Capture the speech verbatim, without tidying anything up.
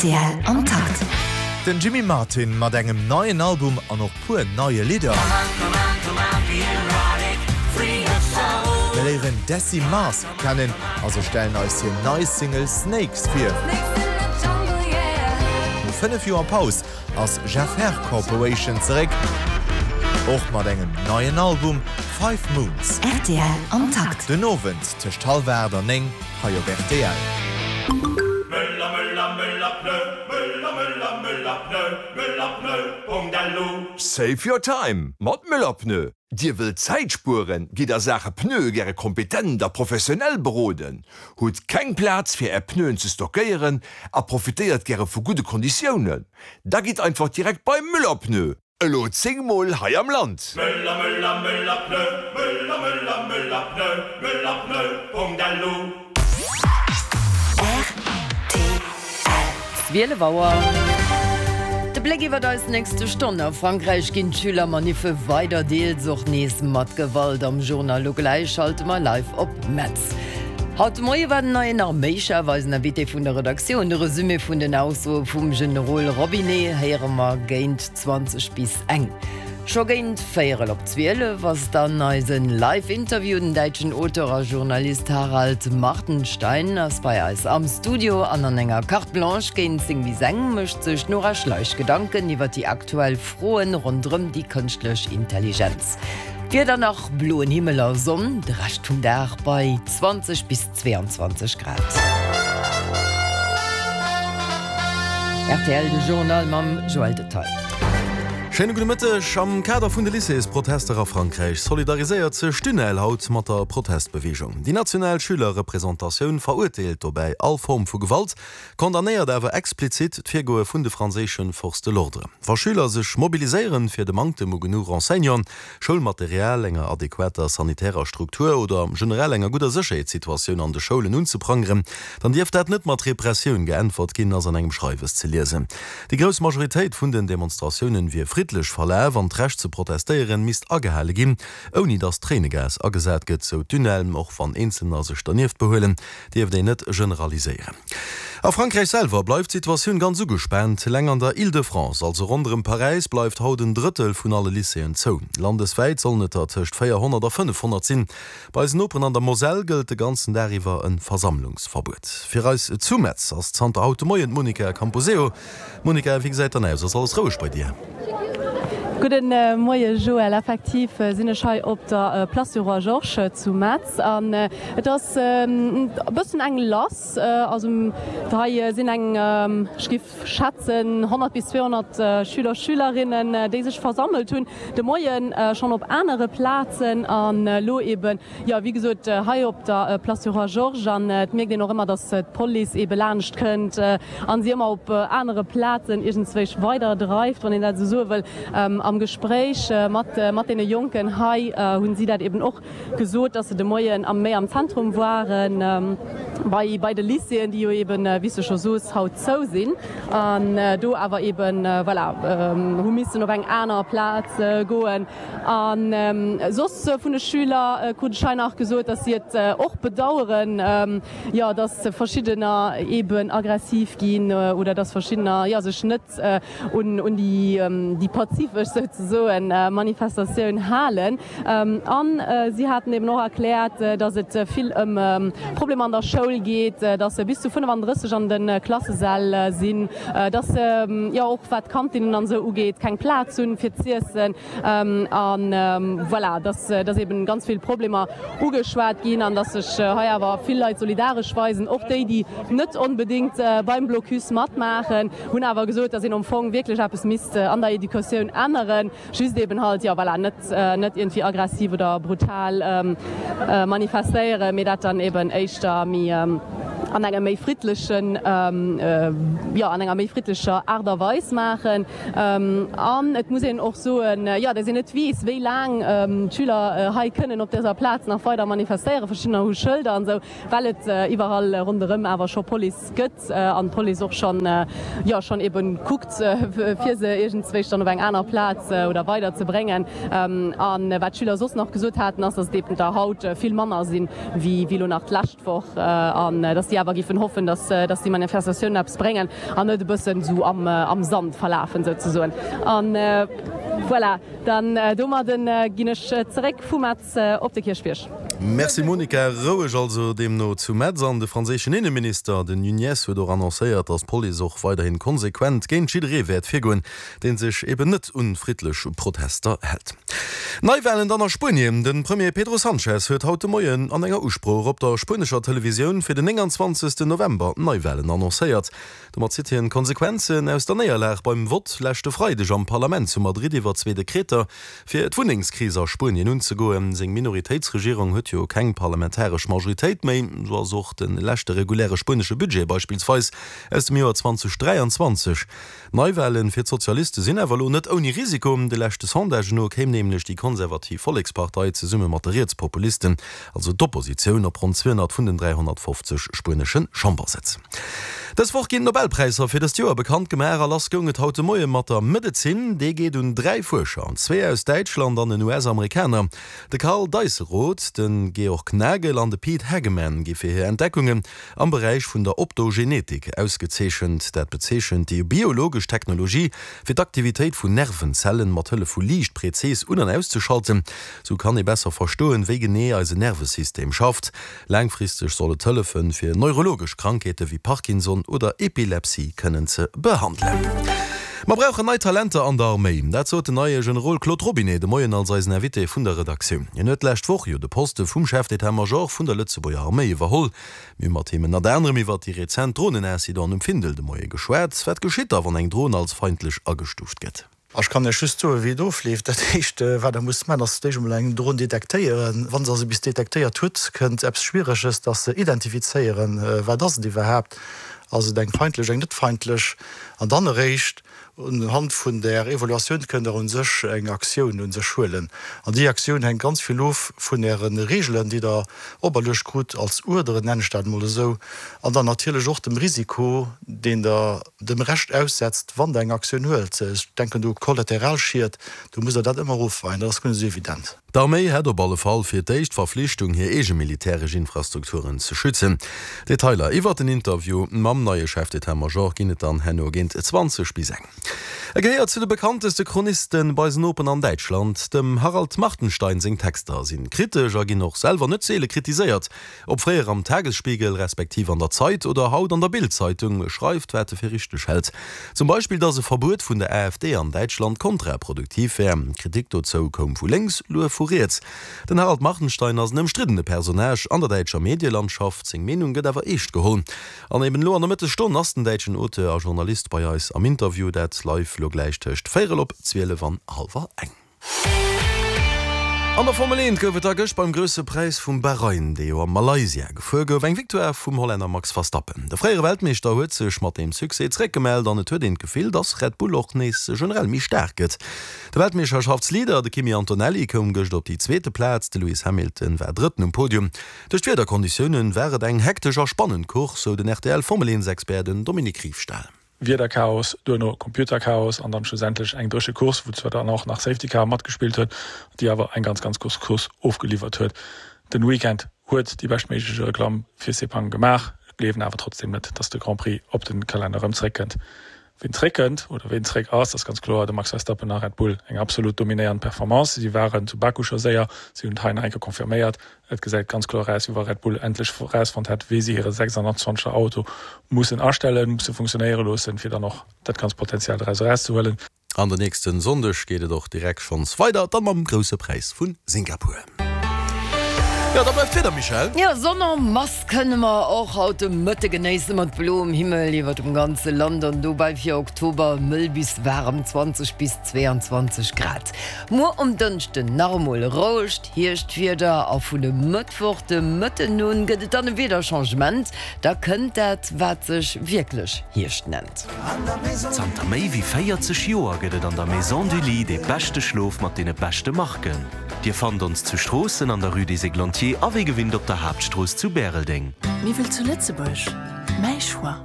Rtl am Takt. Den Jimmy Martin mat engem neien Album an och puer neie Lidder. Mir léieren d'Dessie Mask kennen a se stellen eis hir nei Single Snakes vir. No fënnef Joer Paus ass Jeff Herr Corporation zeréck, och mat engem neien Album, Five Moons. Rtl am Takt. Den Owend tëscht hallwer aacht an néng hei op rtl. Müller, Müller, Müller, Pneu, Müller, Müller, Müller, Pneu, Müller, Pneu, Punkt L U. Save your time mat Müller Pneu. Dir wëllt Zäit spueren, gitt a Saache Pneue gäre kompetent a professionell beroden, hutt keng Plaz fir är Pneuen ze stockéieren a profitéiert gäre vu gudde Konditiounen? Da gitt einfach direkt bei Müller Pneu. Elo zéng Mol hei am Land. Müller, Müller, Müller, Pneu, Müller, Müller, Müller, Pneu, Müller, Pneu, Punkt L U. Rtl. Zwielef Auer. De Bléck iwwer eis nächste Stonn. A Frankräich ginn d'Schülermaniffe weider, deels och nees mat Gewalt. Am Journal elo gläich schalte mer live op Metz. Haut de Moie war den neien Arméichef eisen Invité vun der Redaktioun. De Resumé vun den Aussoe vum Generol Robinet héiere mer géint zwanzeg bis eng. Scho géint véierel op zwielef ass dann eisen Live-Interview. Den däitschen Auteur a Journalist Harald Martenstein ass bei eis am Studio an an enger Carte Blanche géint zéng bis eng mécht sech d'Nora Schleich Gedanken iwwer déi aktuell Froen ronderëm déi kënschtlech Intelligenz. Wieder nach bloen Himmel a Sonn de Rescht vum Dag bei zwanzeg bis zweeanzwanzeg Grad. Rtl, de Journal mam Joël Detaille. Schéine gudde Mëtteg. Am Kader vun de Lycéesprotester a Frankräich solidariséiert sech d'UNEL haut mat der Protestbeweegung. Déi national Schülerrepresentatioun verurteelt dobäi all Form vu Gewalt, condamnéiert awer explizit d'Virgoe vun de franséische Forces de l'ordre. Wa Schüler sech mobiliséieren, fir de Manktem u genuch Enseignanten, Schoulmaterial, enger adequater sanitärer Struktur oder generell enger gudder Sécherheetssituatioun an de Schoulen unzeprangeren, dann dierf dat net mat Repressioun geäntwert ginn, ass an engem Schreiwes ze liesen. Déi grouss Majoritéit vun den Demonstratiounen wier friddlech verlaf an d'Recht ze protestéieren misst agehale ginn, ouni datt Tréinegas agesat gëtt, sou d'UNEL. Och wann Eenzelner sech dernieft behuelen, dierft een net generaliséieren. A Frankräich selwer bleift d'Situatioun ganz ugespaant. Eleng an der Île-de-France, also ronderëm Paräis, bleift haut en Drëttel vun alle Lycéeën zou. Landeswäit sollen et der tëscht véierhonnert a fënnefhonnert sinn. Bei eisen Noperen an der Moselle gëllt de ganzen Dag iwwer e Versammlungsverbuet. Fir eis zu Metz ass zanter haut de Moien d'Monica Camposeo. Monica, wéi gesäit dann aus? Ass alles roueg bei dir? Gudde Moie Joël, effektiv sinn ech hei op der Place du Roi Georges zu Metz an et ass e bëssen eng lass. Also hei sinn eng, ech géif schätzen, honnert bis zweehonnert Schüler, Schülerinnen, déi sech versammelt hunn de Moien schonn op anere Plazen an elo eben, jo wéi gesot, hei op der Place du Roi Georges. An et mierkt een och ëmmer, datt d'Police ebe laanscht kënnt an si ëmmer op anere Plazen iergendzwéich weider dreift, wann een dat esou soe wëll. Am Gespréich mat mat deene Jonken hei hunn si dat eben och gesot, dass se de Moien am méi am Zentrum waren, bei bei de Lycéeën, déi jo eben, wéi s de scho soos, haut zou sinn an do awer eben, voilà, hu missen op eng aner Plaz goen. A soss vun de Schüler krut ech hei nach gesot, dass si et och bedaueren, jo, dass verschiddener eben aggressiv ginn oder dass verschiddener, jo, sech net un un déi déi pazifesch souzesoen Manifestatioun halen. An si haten eben och erkläert, datt et vill ëm Problemer an der Schoul geet, datt se bis zu fënnefandrësseg an de Klassesäll sinn, datt se jo och wat d'Kantinnen an esou ugeet keng Plaz hunn fir z'iessen an voilà, datt datt eben ganz vill Problemer ugeschwat ginn an datt sech hei awer vill Leit solidaresch weisen, och déi déi net onbedéngt beim Blocus matmaachen. Hunn awer gesot, dass een am Fong wierklech eppes misst an der Educatioun änneren, just eben halt, jo voilà, net net iergendwéi aggressiv oder brutal manifestéieren, mee dat dann eben éischter méi an engem méi friddlechen, jo an enger méi friddlecher Aart a Weis maachen. An et muss een och soen, jo, dass een net weess, wéi laang d'Schüler hei kënnen op dëser Plaz nach weider manifestéieren. Verschiddener hu Schëlder an esou, well et iwwerall ronderëm awer scho Police gëtt. An d'Police och schonn, jo, schonn eben kuckt, fir se iergendzwéich dann op eng aner Plaz oder weider ze bréngen. A wat d'Schüler soss nach gesot haten, ass, dass et eben der haut vill manner sinn, wéi elo nach d'lescht Woch, an dass déi awer awer géifen hoffen, dass dass déi Manifestatiounen eppes bréngen an net e bëssen esou am am Sand verlafen souzesoen. An voilà, dann domadden ginn ech zeréck vu Metz op de Kierchbierg. Merci Monica. Roueg also deemno zu Metz. An de franséischen Inneminister, den Nunez, huet och annoncéiert, datt d'Police och weiderhin konsequent géint jidderee wäert virgoen, dee sech eben net un friddlech Protester hält. Neiwalen dann a Spuenien, De Premier Pedro Sanchez huet haut de Moien an enger Usprooch op der spuenescher Televisioun fir den nénganzwanzegsten November Neiwalen annoncéiert. Domat zitt hien d'Konsequenzen aus der Néierlag beim Vott leschte Freideg am Parlament zu Madrid iwwer zwee Dekreter, fir d'Wunnengskris a Spuenien unzegoen. Seng Minoritéitsregierung huet jo keng parlamentaresch Majoritéit méi. Sou ass och de leschte reguläre spuenesche Budget beispillsweis aus dem Joer zweitausenddräianzwanzeg Neiwahlen fir d'Sozialiste sinn awer elo net ouni Risiko. De leschte Sondagen no kéim nämlech déi konservativ Vollekspartei zesumme mat de Rietspopulisten, also d'Oppositioun, op ronn zweehonnert vun den dräihonnertfofzeg spuenesche Chambersëtz. Dës Woch ginn d'Nobelpräisser fir dëst Joer bekannt gemaach a lass goung et haut de Moie mat der Medezin. Dee geet un dräi Fuerscher, zwee aus Däitschland an en U S-Amerikaner. De Karl Deisseroth, de Georg Nagel an de Pete Hageman gi fir hir Entdeckungen am Beräich vun der Optogenetik ausgezeechent. Dat bezeechent déi biologesch Technologie, fir d'Aktivitéit vun Nervenzellen mat Hëllef vu Liicht prezis un an auszeschalten. Sou kann ee besser verstoen, wéi genee eise Nervesystem schafft. Laangfristeg soll et hëllefen, fir neurologesch Krankheete wéi Parkinson oder Epilepsie kënnen ze behandelen. Mer brauchen nei Talenter an der Arméi. Dat sot den neie Generol Claude Robinet de Moien als eisen Invité vun der Redaktioun. Hien huet d'lescht Woch jo de Poste vum Chef d'état-major vun der Lëtzebuerger Arméi iwwerholl. Mir hu mat him ënnert anerem iwwert déi rezent Dronenincidenten um Findel de Moie geschwat. Wat geschitt da, wann eng Dron als feindlech agestuuft gëtt? Ech kann Iech just soen, wéi et ofleeft. Dat Éischt, wat Der musst maachen, ass d'éischt emol eng Dron detektéieren. Wann Der se bis detektéiert hutt, kënnt eppes Schwiereges, dass se identifizéieren, wat ass et iwwerhaapt, ass et eng feindlech, eng net feindlech. An dann eréischt unhand vun där Evaluatioun kënnt Der u sech eng Aktioun u sech huelen. An déi Aktioun hänkt ganz vill of vun Äre Reegelen, déi Der operluecht krut als Uerderen, nennen ech dat emol esou, an dann natierlech och dem Risiko, deen Der dem Rescht aussetzt, wann Der eng Aktioun huelt. Ech denken do u Kollateralschied, do musst Der dat ëmmer ofweien, dat ass guer net esou evident. D'Arméi hätt op alle Fall fir d'éischt d'Verflichtung, hir eege militäresch Infrastrukturen ze schützen. Detailer iwwer den Interview mam neie Chef d'état-major ginn et dann herno géint zwanzeg bis eng. E gehéiert zu de bekannteste Chroniste bei eisen Nopen an Däitschland. Dem Harald Martenstein seng Texter si kritesch a ginn och selwer net seele kritiséiert. Ob fréier am Tagesspiegel respektiv an der Zeit oder haut an der Bild-Zeitung, e schreift, wat e fir richteg hält. Zum Beispill, datt e Verbuet vun der A F D an Däitschland kontraproduktiv wär. Kritik dozou koum vu lénks, Luef vu riets. Den Harald Martenstein ass en ëmstriddene Personnage an der däitscher Medielandschaft, seng Meenung gëtt awer eescht geholl. An eben elo an der Mëttesstonn ass den däitschen Auteur a Journalist bei eis am Interview, dat live lo gläich tëscht véierel op zwielef an hallwer eng. An der Formel eent gouf et da gëscht beim Grousse Präis vum Bahrain, dee jo a Malaysia gefuer gouf, eng Victoire vum Hollänner Max Verstappen. De fréiere Weltmeeschter huet sech mat deem Succès zeréckgemellt an et huet een d'Gefill, dass Red Bull och nees generell méi staark gëtt. De Weltmeeschterschaftsleader, de Kimi Antonelli, koum gëscht op déi zweete Plaz, de Lewis Hamilton war Drëtten um Podium. Duerch d'Wiederkonditioune war et eng hektesch a spannend Course, sou den R T L-Formel-eent-Expert, den Dominique Riefstahl. Wiederchaos, duerno Computerchaos an dann schlussendlech eng dréche Course, wou zwar dann och nach Safety Car matgespillt huet, déi awer eng ganz ganz grouss Course ofgeliwwert huet. Den Weekend huet déi beschtméiglech Reklamm fir Sepang gemaach, ech gleewen awer trotzdem net, dass de Grand Prix op den Kalenner erëm zréckkënnt. Wien zréckkënnt oder wien zréck ass, ass ganz kloer de Max Verstappen a Red Bull. Eng absolut dominéierend Performance. Si waren zu Baku scho séier, si hunn et hei nach eng Kéier confirméiert. Et gesäit ganz kloer aus, wéi wa Red Bull endlech erausfonnt hätt, wéi si hire sechshonnertzwanzeger Auto mussen astellen, musse funktionéiere loossen, fir dann och dat ganzt Potenzial doraus erauszehuelen. An den nächsten Sonndeg geet et och direkt schonns weider, dann mam Grousse Präis vun Singapur. Jo, da bleift d'Wieder, Michèle. Jo, Sonn en masse kënne mer och haut de Mëtte genéisse mat bloem Himmel iwwer dem ganze Land an dobäi fir Oktober mëll bis waarem zwanzeg bis zweeanzwanzeg Grad. Muer um Dënschden nach emol rouegt Hierschtwieder a vun e Mëttwoch de Mëtten un gëtt et dann e Wiederchangement, da kënnt dat wat sech wierklech Hierscht nennt. Zanter méi wéi véierzeg Joer gëtt et an der Maison du Lit dee beschte Schlof mat deene beschte Marken. Dir fannt ons zu Stroossen an der Rue des Églantiers a wéi gewinnt op der Haaptstrooss zu Bäreldeng. Miwwel zu Lëtzebuerg, méi Choix.